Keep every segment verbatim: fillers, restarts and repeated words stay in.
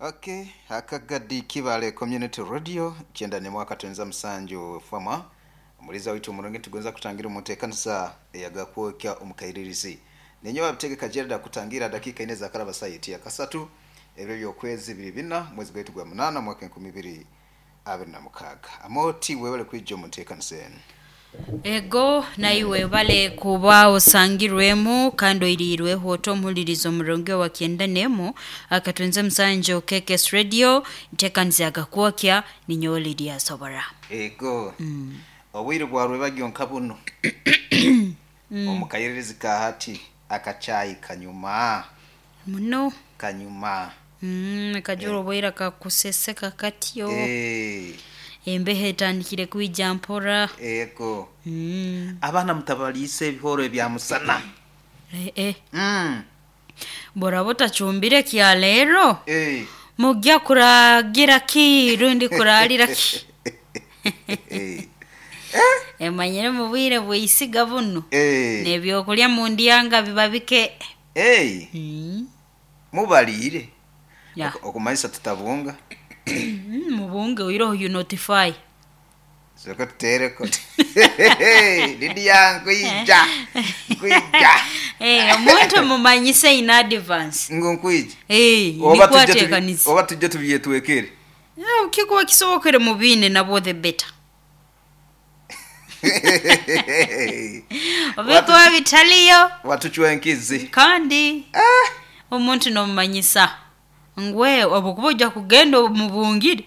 Okay, akagadi Kibale Community Radio kyenda ne mwaka twenza musanju fama omuliza waitu omurungi tugonza kutangira omuteekanisa eyagakwokya omukairirizi ninyo abitegeka Gerald kutangira dakika ine za karaba sayiti ya kasatu ebyo byokwezi bibiri bina mwezi gwaitu gwa munana mwaka enkumi ibiri abiri na mukaaga. Amoti webale kwijja omuteekanisa eno. Ego naiwe bale kuba osangirwemu kandi oirirweho otomuhuliriza omurungi wa kyenda nemu akatwenze musanjo K K S Radio ntekanisa agakwokya ninyowe Lydia Sobora. Ego mm. Obwire bwarwe bagyonka buno mm. Omukayiririzi kahati akachayi kanyuma muno kanyuma mm, kajuro eh. Bwira kakuseseka katyo eh. Embehe etandikire kwijja mpora. Ego. Mm. Abaana mutabalise ebihoro ebya musana. Eh eh. Mm. Bora botachumbire kya leero. Eh. Mujja kuragira ki rundi kuralira ki. Eh. Emanyire mu bwire bwisiga buno. Eh. Nebyokulya mu ndyanga biba bike. Eh. Mm. Mubalire. Ya. Okumanyisa tutabunga. Mubunge oiroho you notify. Soko tutereko. Lidi yangu ija. Kuija. Eh, omuntu mumanyise in advance. Ngo nkuija. Eh, oba tujje oba tujje tubyetwekere. Eh, kikuwa kisobokere mubine nabo the better. Obikuwa bitaliyo. Watuchwa enkizi. Kandi. Ah. Omuntu nomumanyisa. Ngwe obukuba ojja kugenda mubungire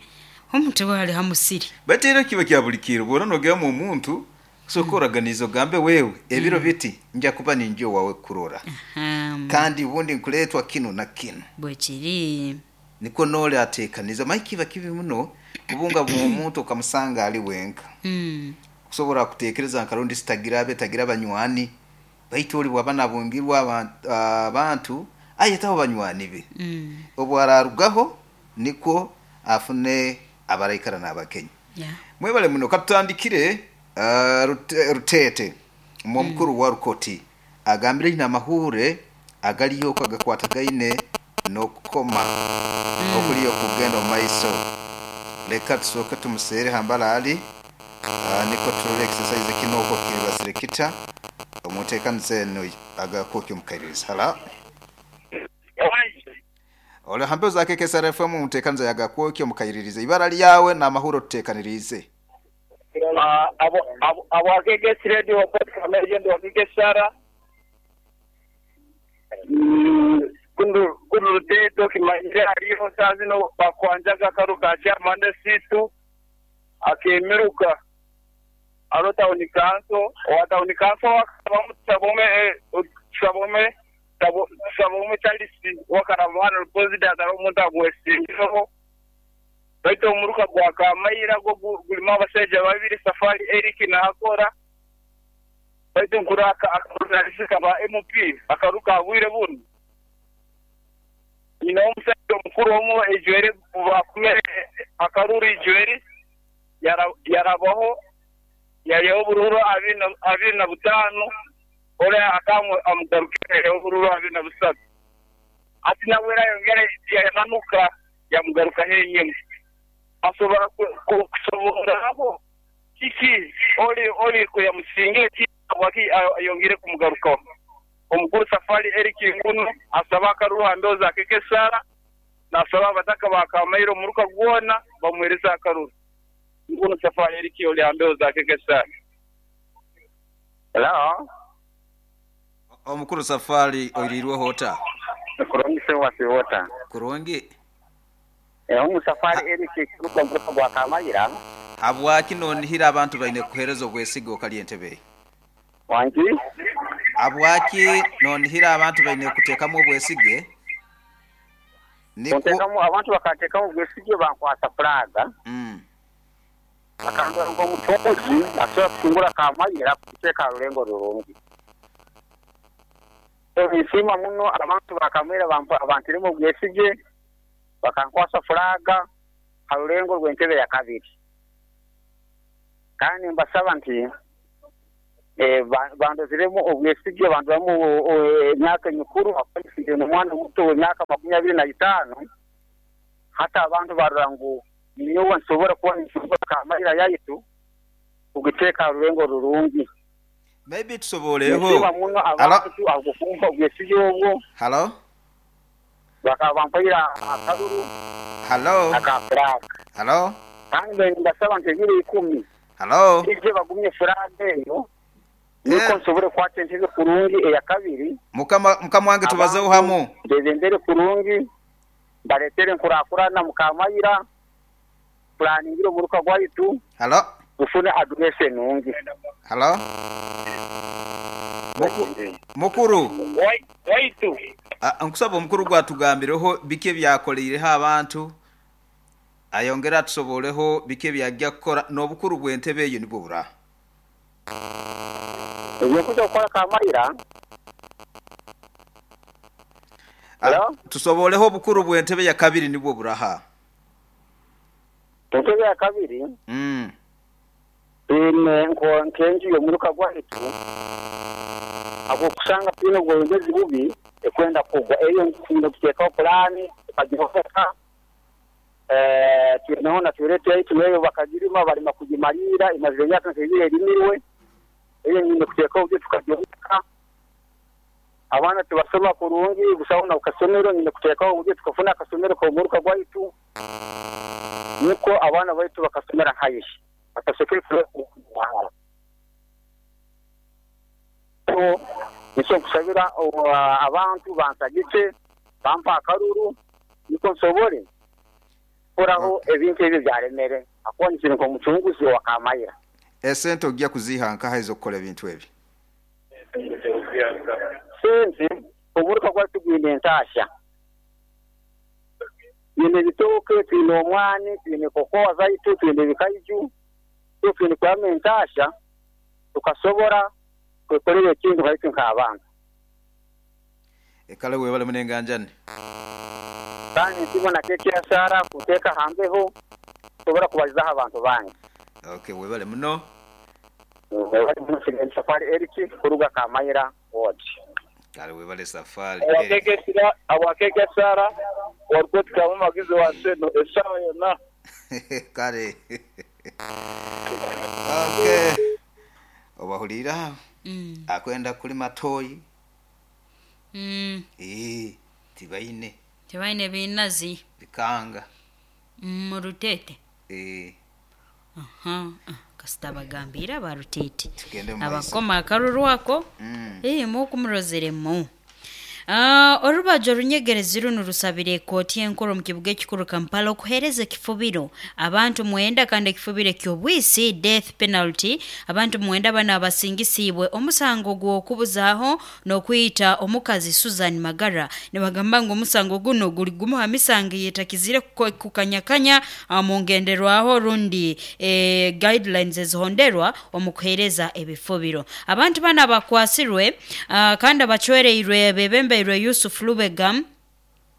omuntu wali hamusiri. Batera kiba kya bulikiro bora nogera mu muntu sokoraganizo gambe wewe ebiro biti nja kuba ninjo wawe kurora. Um, kandi ubundi nkuletwa kino na kino. Bwekiri niko nole atekaniza maiki kibi muno kubunga mu muntu kamusanga ali wenka. Mm. Kusobora kutekereza nkarundi sitagira abe tagira banywani baitu oli bwabana bungirwa abantu uh, ayetaho banywani be. Mm. Obwararugaho niko afune abaraikara n'abakenya. Yeah. Mwebale muno katutandikire uh, rute, rutete omukuru mm. wa Rukoti agambire ina mahure agaliyo kagakwatagaine nokukoma mm. okuliyo kugenda mu maiso. Leka tusoke tumusere hambala ali uh, niko turole exercise kinoko kiribasirekita omutekanise no agakokyo mukaiririza. Hala Ole hambe za K K S R F M mutekanza yagakwokyo mukairirize ibara lyawe na mahuro tutekanirize. Ah, abo abo abo K K S Radio kwa ndo K K S R. Mm, kundu kundu teto kimanyira aliyo sazino bakwanjaga karuka cha mande situ akemiruka aro town council wa town council wa sabome sabo sabome Charles wakaramana president aromuntu agwesingiro baito omuruka gwa Kamayira go gulima abasajja babiri Safari Eric na Hakora baito nkuraka akaruka ba M P akaruka abwire buno ina omusajja omukuru omu ejwere bakume akaruri ejwere yarabaho yariyo bururu abina abina butano ore akamu amugarukire obururu abina busatu ati nawera yongere yananuka yamugaruka henyene asobora kusoboraho kiki oli oli kuyamusinge waki yongere kumugaruka omukuru Safari Eric Nguno asaba akaruha ndoza kekesara nasaba abataka bakamairo muruka gwona bamwereza akaruru Nguno Safari Eric oli ambeoza kekesara. Hello. Omukuru Safari oirirwe hota. Kurungi se wasi hota. Kurungi. Eh omu Safari Eric kuruka muruka gwa Kamayira. Habwaki nonihira abantu baine kuhereza obwesigo okali entebe. Wangi? Habwaki nonihira abantu baine kutekamu obwesige? Niko Kutekamu abantu bakatekamu obwesige bankwasa flaga. Mm. Akandwa ngo mutozi asobola kutungula Kamayira kuteka rulengo rurungi. Nisima muno abantu bakamera bantiremo obwesige bakankwasa flaga harulengo rw'entebe ya kabiri. Kandi mbasaba nti Eh, ba- bandoziremu obwesige, bandoramu emyaka emikuru, akwafire n'omwana muto w'emyaka makumi abiri na itaano. Hata abantu barora ngu ninyowe nsobora kuba ninsobora Kamayira yaitu kugiteeka ha rurengo rurungi. Maybe tusoboleho. Nsiima muno abantu agokumpa obwesige obwo. Halo. Bakaba bampaire akaruru Halo. aka furaga. Halo. Kandi ndasaba nti ebiro ikumi Halo. ije bagumye furaga eyo, niko Eh. nsobore kukwata entebe kurungi eya kabiri. Mukama mukama wange tubazeho hamu. Ndebembere kurungi, mbaletere nkurakurana Mukamayira, pulaningire omuruka gwaitu Halo. gufune aduresi enungi. Halo. Muku, mukuru. Waitu. Ah, nkusaba omukuru gwatugambireho biki ebyakoleireho abantu, ayongera atusoboleho biki ebyajja kukora n'obukuru bw'entebe eyo nibwo bura. Ebyokuja kukora Kamayira. Ah, Hello? tusoboleho obukuru bw'entebe ya kabiri nibwo buraha. Entebe ya kabiri Mm. twine nko nkenju y'omuruka gwaitu agokusanga twine obwebembezi bubi ekwenda kugwa eyo nkufunde kuteekaho pulaani tukagihomeka. Eh, twineho na toilet yaitu nayo bakagirima barima kugimalira imazire emyaka nk'ebiri erimirwe, eyo nyine kuteekaho byo tukagihomeka. Abaana tibasoma kurungi busaho na kasomero, nyine kuteekaho oburyo tukafuna akasomero k'omuruka gwaitu niko abaana baitu bakasomera haihi batasekere. Nikyo nkusabira abantu bansagike bampa akaruru niko nsobore kuraho ebintu ebyo byaremere akuba nikiri nk'omucunguzi wa Kamayira. Esente ojja kuziha nkaha ez'okukola ebintu ebi? Sente omuruka gwaitu gwine entasya, twine ebitooke, twine omwani, twine kokoa zaitu, twine ebikaiju, so twine kuramu entasya tukasobora kwekorera ekintu haitu nk'abantu. Ekale webale munenganjani. Kandi nsibona kekyasara kuteeka hambeho tusobora kubalizaho abantu bangi. Okay, webale muno. Webale muno. Safari Eric kuruga Kamayira ward. Kale webale Safari Eric. Awakekesira awakekesara warukoti kamu magizi wa seno esawa yonna. Kale. Okay. Obahulira Mm. akwenda kulima toyi. Mm. Eh, tibaine Tibaine binazi bikanga. Mu Rutete. Eh, Aha, ah, kasita bagambira ba Rutete. Tugende mu maiso. Abakoma akaruru ako. Mm. Eh, mukumurozeremu. Ah, orubajo runyegerezi runo rusabire ekooti enkuru mu kibuga ekikuru Kampala okuheereza ekifubiro abantu mwenda, kandi ekifubiro eky'obwisi death penalty. Abantu mwenda bano abasingisiibwe omusango gw'okubuzaaho n'okwita omukazi Susan Magara. Nibagamba ngu omusango guno guli gumu ha misango eyetakizire kuko- kukanyakanya ah, mu ngenderwaho rundi eh, guidelines ezihonderwa omu kuheereza ebifubiro. Abantu bano abakwasirwe ah, kandi abacwereirwe bebembeirwe Yusuf Lubega.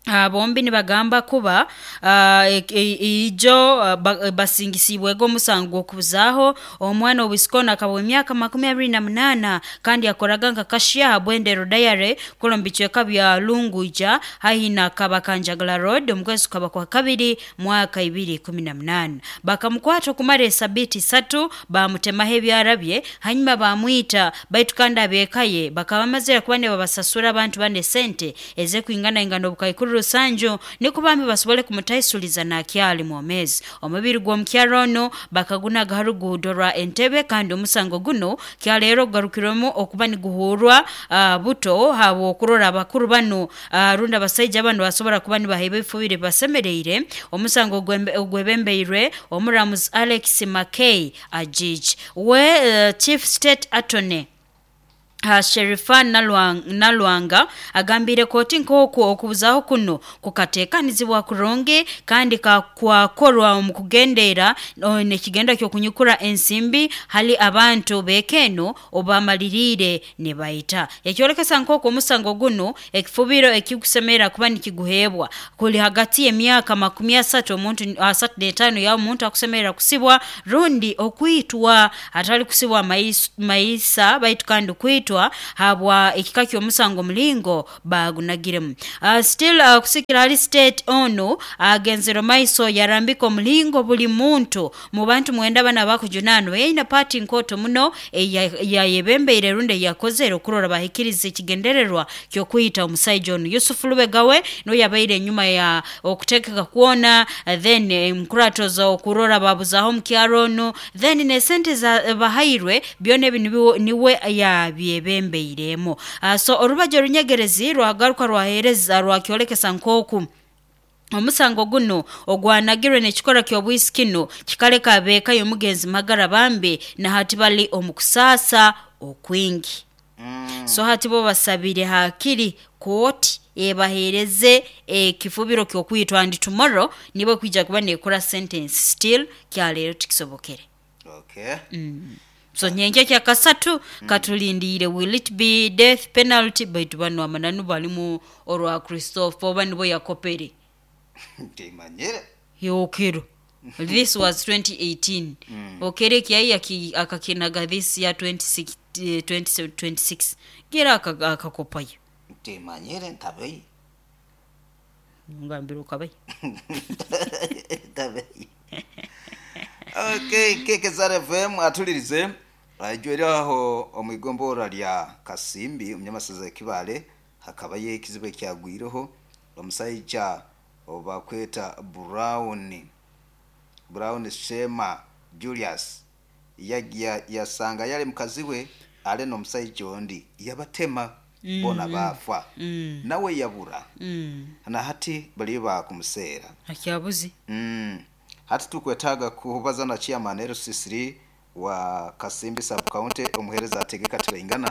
Uh, bombi nibagamba kuba uh, ijo uh, ba, basingisibwego omusango gw'okubuzaaho omwana owisikona akaba emyaka makumi abiri na munaana kandi yakoraga nka kashiya ha Bwendero Diary kulo mu bicweka bya Lunguja haihi na Kabakanjagala Road omu kwezi kukaba kwa kabiri mwaka ibiri kumi na munaana. Bakamukwata okumara esabiti isatu bamutemaho ebyarabye hanyuma bamwita, baitu kandi ab'eka ye bakaba bamazire kuba nibabasasura abantu bane sente ez'ekwinganaingana obukaikuru rusanju niko bambi basobole kumutaisuliza nakyali mwomezi. Omubiri gw'omukyaro ono bakagunaga ha ruguudo rwa Entebbe, kandi omusango guno kyaleero gugarukirwemu okuba niguhurwa uh, buto habw'okurora abakuru bano uh, rundi abasaija bano basobora kuba nibaheebwa ebifubiro basemereire. Omusango ogwembe- ogwebembeirwe omuramuzi Alex Mackay Ajij we uh, chief state attorney. Uh, Sherifa Nalwanga agambire koti nk'oku okubuzaho kuno kukateekanizibwa kurungi kandi kakwakorwa omu kugendeera nekigenda ky'okunyukura ensimbi hali abantu beekeno obamaliriire ne baita. Ekyolekesa nk'oku omusango guno ekifubiro ekigusemera kuba nikiguheebwa kuli hagati y'emyaka makumi asatu omuntu asatu n'etaano ya omuntu akusemerera kusibwa rundi okwitwa atali kusibwa mais, maisa baitu kandi kwitwa habwa ekika ky'omusango mulingo bagunagiremu. Uh, still uh, kusikira hali state ono agenzero maiso yarambika omulingo buli muntu mu bantu mwenda bana bakujunanwa yaina party nkoto muno yayebembeire runde yakozere okurora bahikiriza ekigendererwa ky'okuyita omusajja ono Yusuf Lubegawe no yabaire enyuma ya okutekeka kuona then emkuratoza okurora babuzaho mu kyaro ono then ne sente za bahairwe byona ebi niwe yabyebembeiremu. Uh, so orubajo runyegerezi rwagaruka rwahereza rwakyolekesa nkoku omusango guno ogwanagirwe n'ekikora ky'obwisi kino kikaleka abeeka y'omugenzi Magara Bambi na hati bali omukusaasa okwingi. Mm. So hati bo basabire hakiri kooti ebahereze ekifubiro ky'okwitwa and tomorrow nibo kwijja kuba nekora sentence still kyaleero tikisobokere. Okay. Mm. So nyenje kya kasatu mm. katulindire will it be death penalty baitu bano amananu balimu orwa Christopher oba nibo yakopere Timanyire. Yokero. This was twenty eighteen. Mm. Okere kyai akakinaga this year twenty-six twenty twenty-six. Gira akakopayo. Timanyire ntabei. Ngambiro kabai. Ntabei. Okay, K K S R F M atulirize. Ajwera aho omwigombora lya Kasimbi umunyamasaza Kibale hakaba ye kizibe kyagwireho omusajja obakweta Brown Brown Shema Julius yagiya yasanga yale mukazi we ale no musajja ondi yabatema mm. bona bafa mm. nawe yabura mm. na hati bali bakumuseera akyabuzi mm. Hati tukwetaga kubaza na chairman L C three wa Kasimbi sub county omuhereza ategeka tibengana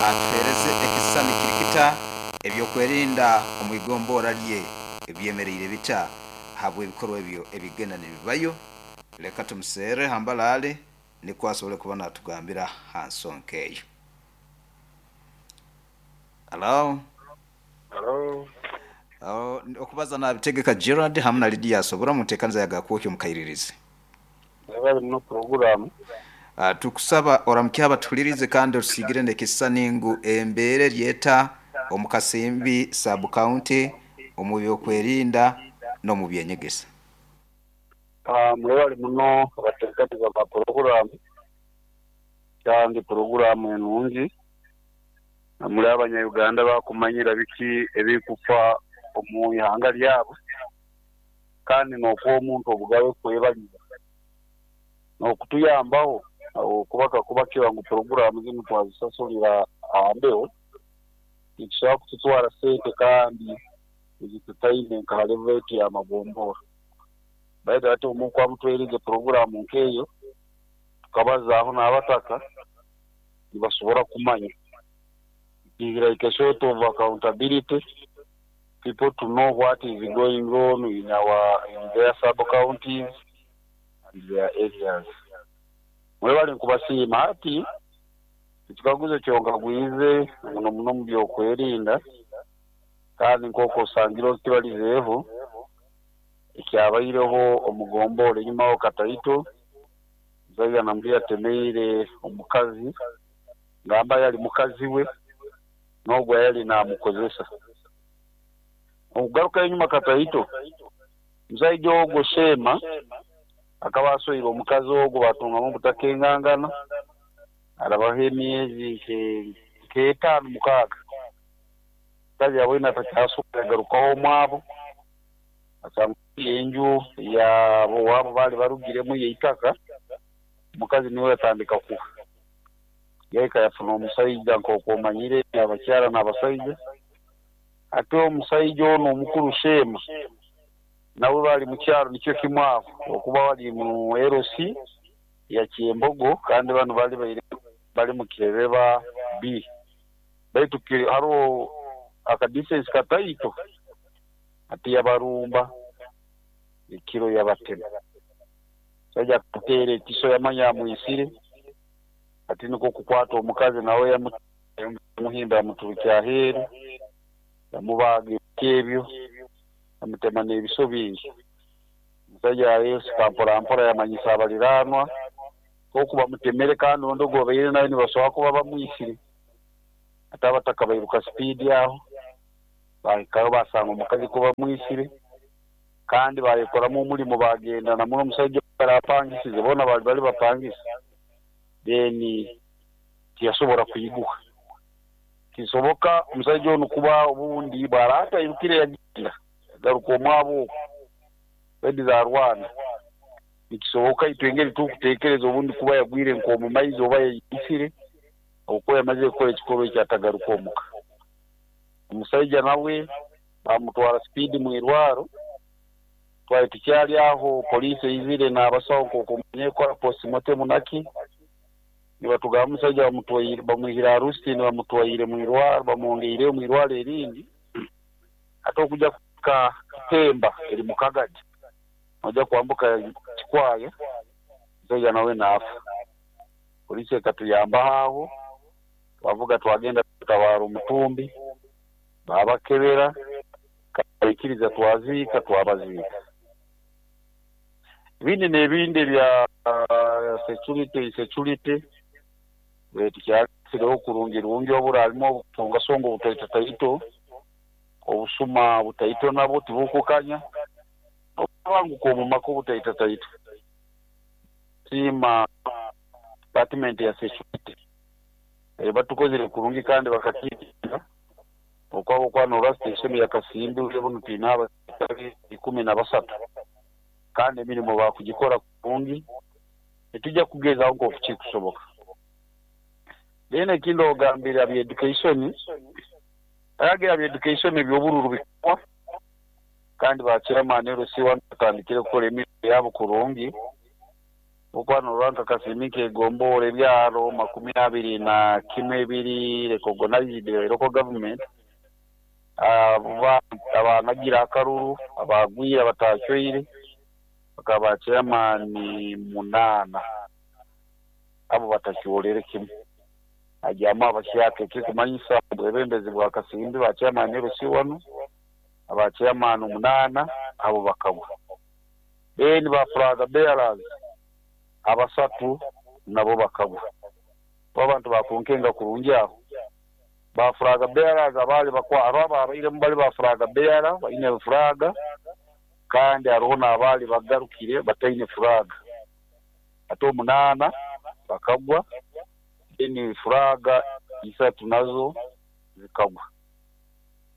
atuhereze ekisani kirikita ebyokwerinda omwigombora lye ebyemereire bita habwe ebikorwa ebyo ebigenda nebibayo. Leka tumusere hambalale niko asobole kuba natugambira hansonkeyo. Hello. Hello. Oh, okubaza na bitegeka Gerard hamwe na Lydia asobora mutekanza yagakwoke mukairirize. Bali no program. Uh, tukusaba oramukya batulirize kandi osigire nekisani ngu embere lyeta omukasimbi sub county omubyo kwerinda no mu byenyegesa. Ah, mwebali muno abatekatiza ba program. Kandi program enungi. Namuli abanya Uganda bakumanyira biki ebikufa omu ihanga lyabo. Kandi n'okuwa omuntu obugabe kwebaliza. N'okutuyambaho okubaka kubakira ngu program zinu twazisasulira ambeho. Nitusobola kututwara sente kandi ezitutaine nka level ya magombora. Baita ate omuntu amutwereze program nkeyo tukabazaaho n'abataka nibasobora kumanya. It's like a sort of accountability, people to know what is going on in our in their sub counties and their areas. Mwebale nkubasiima hati ekikaguzo kyonka gwize muno muno mu byokwerinda kandi nk'oku osangire okibalizeeho ekyabaireho omugombora enyimaho Kataito Zaiga nambi yatemeire omukazi ngamba yali mukazi we n'ogwo yali namukozesa. Okugaruka enyuma Kataito musaija ogwo Shema akaba asoire omukazi ogwo batungamu obutakengangana arabaho emyezi nk'etaano mukaaga mukazi yabwine atakyasobola yagarukaho omwabo asanga enju yabo wabo bali barugiremu yeitaka omukazi niwe yatandika kufa yaika yafuna omusaija nk'oku omanyire abakyala n'abasaija ate omusaija ono omukulu Shema nawe bali mu kyalo nikyo kimu aho okuba bali mu L C ya Kyembogo kandi bano bali baire bali mu Kireba B baitu hariho akadistance kataito ati yabarumba ekiro yabatema saija kutere ekiso yamanya yamwisire ati niko kukwata omukazi nawe yamuhimba yamuturukya aheeru yamubaga ebyo yamutema n'ebiso bingi. Omusajja yayesika mpora mpora yamanyisa abaliraanwa oku bamutemere kandi ondi ogwo babaire nawe nibasobola kuba bamwisire ate abataka bairuka sipiidi aho bahikayo basanga omukazi ko bamwisire kandi bayekoramu omulimo bagenda namuno omusajja barapangisize boona bali bali bapangisa then tiyasobola kuyiguha kisoboka omusajja ono kuba obundi bwaraata irukire yagenda yagaruka omwabo okwo wedi zarwana nikisoboka itwe engeri tukuteekereza obundi kuba yagwire nk'omu maizi oba yayisire okuba yamazire kukora ekikorwa ekyo atagaruka omuka. Omusajja nawe bamutwara sipiidi mwirwaro twali tukyali aho poliisi eizire n'abasawo nk'okumanye kukora postmortem naki nibatugamba omusajja bamutwaire bamwihire Arusitini bamutwaire mwirwaro bamwongeireyo mwirwaro erindi ate okujja kuka Kitemba eri mu Kagadi ojja kwambuka Kikwaya omusajja nawe naafa. Poliisi ekatuyambaho aho twavuga twagenda tutabaara omutumbi babakebera baikiriza twaziika twabaziika. Ebindi n'ebindi ebya security security tukyasireho kurungi rungi obura harimu obutongasonga obutaito obusuma butaito nabwo tibukukanya obubanguka omu maka obutaitataito. Siima department ya security batukozire kurungi kandi bakakiitinga okwabo kwanora station ya Kasimbi ubu twine abasirikare ikumi na basatu kandi emirimo bakugikora kurungi etujja kugezaho nk'oku kikusoboka. Then ekindi ogambire abya education ayagira bya education ebyobururu bikwa kandi bachairman L C one batandikire kukora emirimo yabo kurungi okwanora nka Kasimbi kegombora ebyaro makumi abiri na kimwe ebiri recognized local government abanagira akaruru abagwire abatacyoire bakaba chairman munana abo batakyorere kimwe ajyamu abashyaka kikumanyisa obwebembezi bwa Kasimbi ba chairman L C one aba chairman munana abo bakagwa. Then ba flag bearers abasatu nabo bakagwa abantu bakunkenga kurungi aho ba flag bearers abali bakwa ababaire bali ba flag bearer baine flag kandi hariho n'abali bagarukire bataine flag ate omunana bakagwa then flag isatu nazo zikagwa.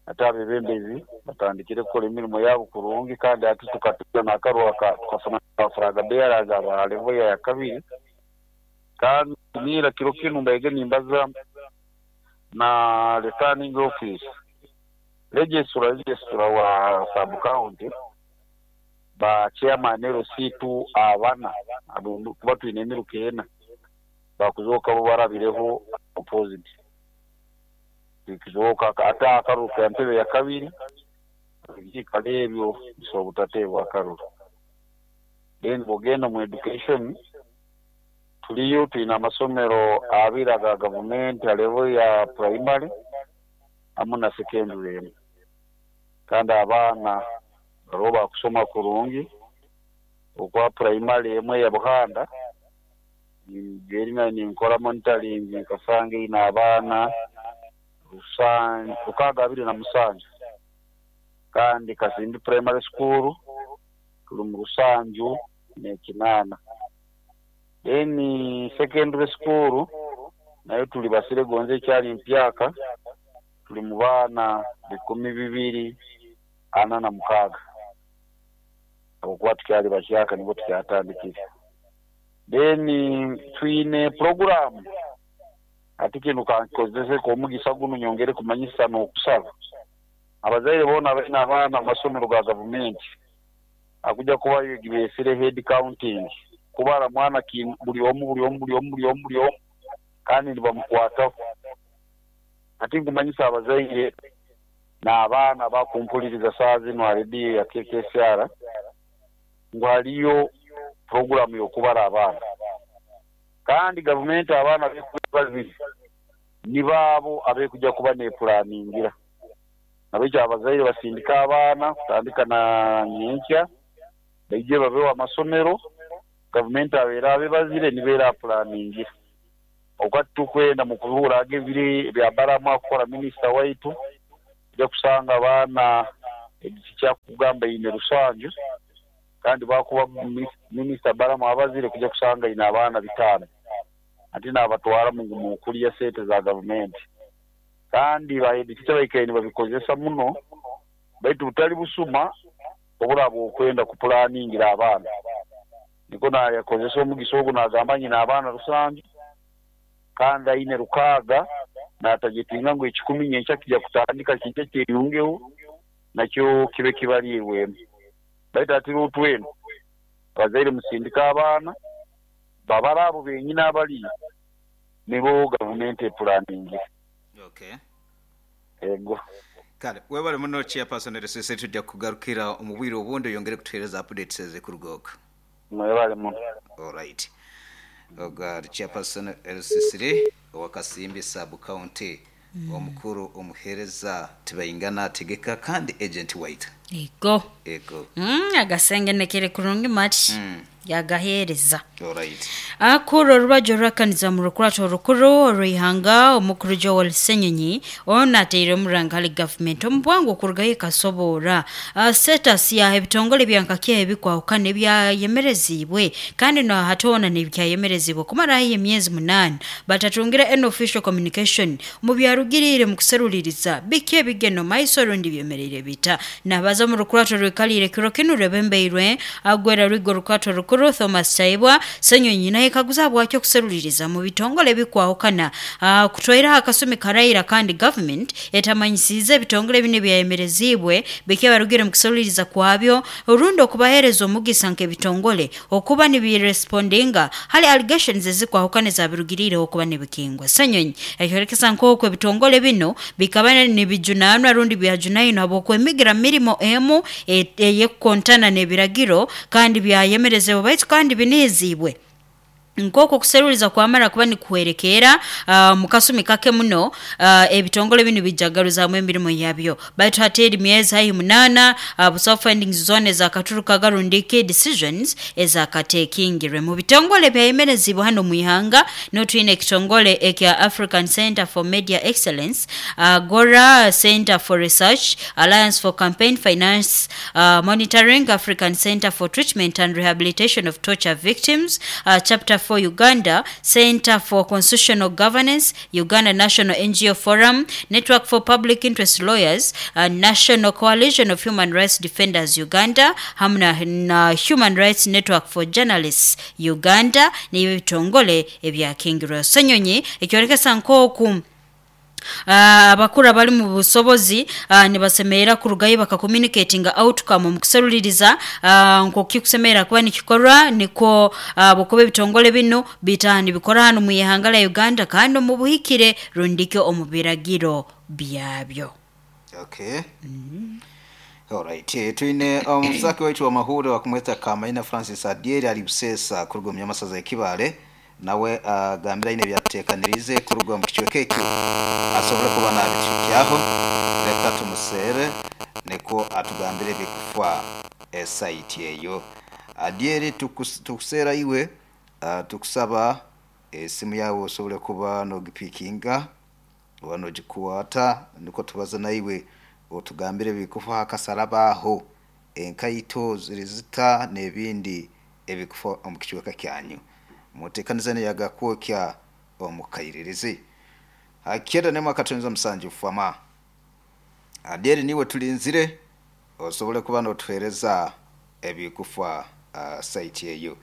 Ate abebembezi batandikire kukora emirimo yabo kurungi kandi ati tukatuka n'akaruha tukafuna flag bearers aba level ya kabiri kandi nira kiro kinu mbaige nimbaza na returning office registrar registrar wa sub county ba chairman L C two abana abo kuba twine emiruka ena bakuzoka bo barabireho opposite kizoka ate akaruka entebe ya kabiri ebikikalo ebyo bisobola obutateebwa akaruru. Then bwogenda mu education tuliyo twine amasomero abiri aga gavumenti a level ya primary hamu na secondary emu kandi abaana bariho bakusoma kurungi okwa primary emwe ya Buhanda eri ninkora monitoring nkasanga eine abaana rukaaga abiri na musanju kandi Kasimbi primary school turi mu rusanju n'ekinaana. Then secondary school nayo tuli basire gonze ekyali mpyaka tuli mu baana bikumi bibiri ana na mukaaga okuba tukyali bahyaka nibwo tukyatandikire. Then twine program ati kinu kankozese omugisa guno nyongere kumanyisa n'okusaba abazaire boona baine abaana mu masomero ga gavumenti akujja kubayo gibesire head counting kubara mwana buli omu buli omu buli omu buli omu buli omu kandi nibamukwataho Ati nkumanyisa abazaire n'abaana bakumpuliriza saa zino ha rediyo ya K K S R ngu hariyo puroguramu y'okubara abaana. Kandi gavumenti abaana babiri ni baabo abekuja kuba nepulaningira. Nabekyo abazaire basindika abaana kutandika na nyenkya baije babeho amasomero, gavumenti abeera abebazire nibeera pulaningira. Okwati tukwenda mu kuhura ebiri bya baramu akukora minisita waitu ojja kusanga abaana ekya kugamba ine rusanju kandi bakuba minisita baramu abazire kujja kusanga ine abaana bitaano ati n'abatwara mu kulya sente za gavumenti. Kandi baedikica baikaine babikozesa muno baitu butali busuma obulaba okwenda kupulaningira abaana. Niko nayakozesa omugisa ogu nagamba nyina abaana rusanju kandi aine rukaaga natagitinga ngu ekikumi nyenkya kijja kutandika kijja kyeyungeho nakyo kibe kibaliirwemu. Baitu ati otwenu abazaire musindika abaana babara abo benyini abali nibo gavumenti epulaningira. Okay. Ego. Kale webale muno chairperson R C C, tujja kugarukira omu bwire obundi oyongere kutuheereza updates ezikurugoka. Mwebale muno. All right. Oga chairperson R C C owakasimbi sub county mm. omukuru omuhereza tibayingana tegeka kandi agent white. Ego. Ego. Mm, agasenge nekere kurungi match. Mm. Yagahereza. All right. Akuro rubajo rakaniza mu rukurato rukuru oruihanga omukuru Joel Ssenyonyi ona ateire omurangali government omubwangu okurugayo kasobora uh, status ya ebitongole byankakye ebikwahukana ebyayemerezibwe kandi no hatona n'ebyayemerezibwe kumara emyezi munani batatungira an official communication mu byarugirire mu kuseruliriza biki ebigeno maiso rundi byemerere bita nabaza mu rukurato rwikalire kiro kinu rebembeirwe agwera rwigo rukurato rukuru Thomas Taibwa Ssenyonyi naye kaguza bwakyo kuseruliriza mu bitongole bikwahukana uh, kutwaira akasumi karaira kandi government etamanyisize ebitongole bine byayemerezibwe bike barugire mu kuseruliriza kwabyo orundo okubahereza omugisa nk'ebitongole okuba nibirespondinga hali allegations ezikwahukana zabirugirire okuba nibikingwa. Ssenyonyi ekyorekesa nk'okwo ebitongole bino bikaba nibijunanwa rundi byajunayino habwokwemigira mirimo emu eyekukontana n'ebiragiro kandi byayemerezebwa baitu kandi binizibwe nkoko kuseruliza kwamara kuba nikuherekera uh, mukasumi kake muno uh, ebitongole bino bijagaruza mu emirimo yabyo baitu hateri myezi hayi munana uh, busaw findings zone za katuruka garundike decisions ezakatekingirwe mu bitongole byayemerezibwa hano mu ihanga no twine ekitongole ekya African Center for Media Excellence, uh, Gora Center for Research, Alliance for Campaign Finance uh, Monitoring, African Center for Treatment and Rehabilitation of Torture Victims, uh, Chapter for Uganda, Center for Constitutional Governance, Uganda National N G O Forum, Network for Public Interest Lawyers, uh, National Coalition of Human Rights Defenders Uganda, hamna na Human Rights Network for Journalists Uganda, ni bitongole ebyakingirwa. Ssenyonyi ekyorekesa nk'oku abakuru abali mu busobozi uh, nibasemerera kurugayo bakakommunicatinga outcome mu kuseruliriza uh, nk'okikusemerera kuba nikikorwa niko uh, bukobe bitongole bino bitani bikora hano mu ihanga la Uganda kandi mu buhikire rundike omu biragiro byabyo. Okay. Mm -hmm. All right. Twine omusaki um, waitu wa mahuro wakumweta Kamaina Francis Adieri ali busesa kuruga mu nyamasaza ekibale nawe agambira uh, ine byatekanirize kuruga mu kichweke ekyo asobole kuba nabikyaho reka tumusere niko atugambire bikufa esite eyo. Adieri tukus, tukusera iwe uh, tukusaba esimu yawe osobole kuba nogipikinga wano gikuwata niko tubaza naiwe otugambire bikufa akasarabaho enkaito zirizita n'ebindi ebikufa omu kichweka kyanyu mutekanizane yagakwokya omukairirizi akenda nema katonza musanju fama. Adieri niwe tulinzire osobole kuba notuhereza ebikufa uh, site eyo.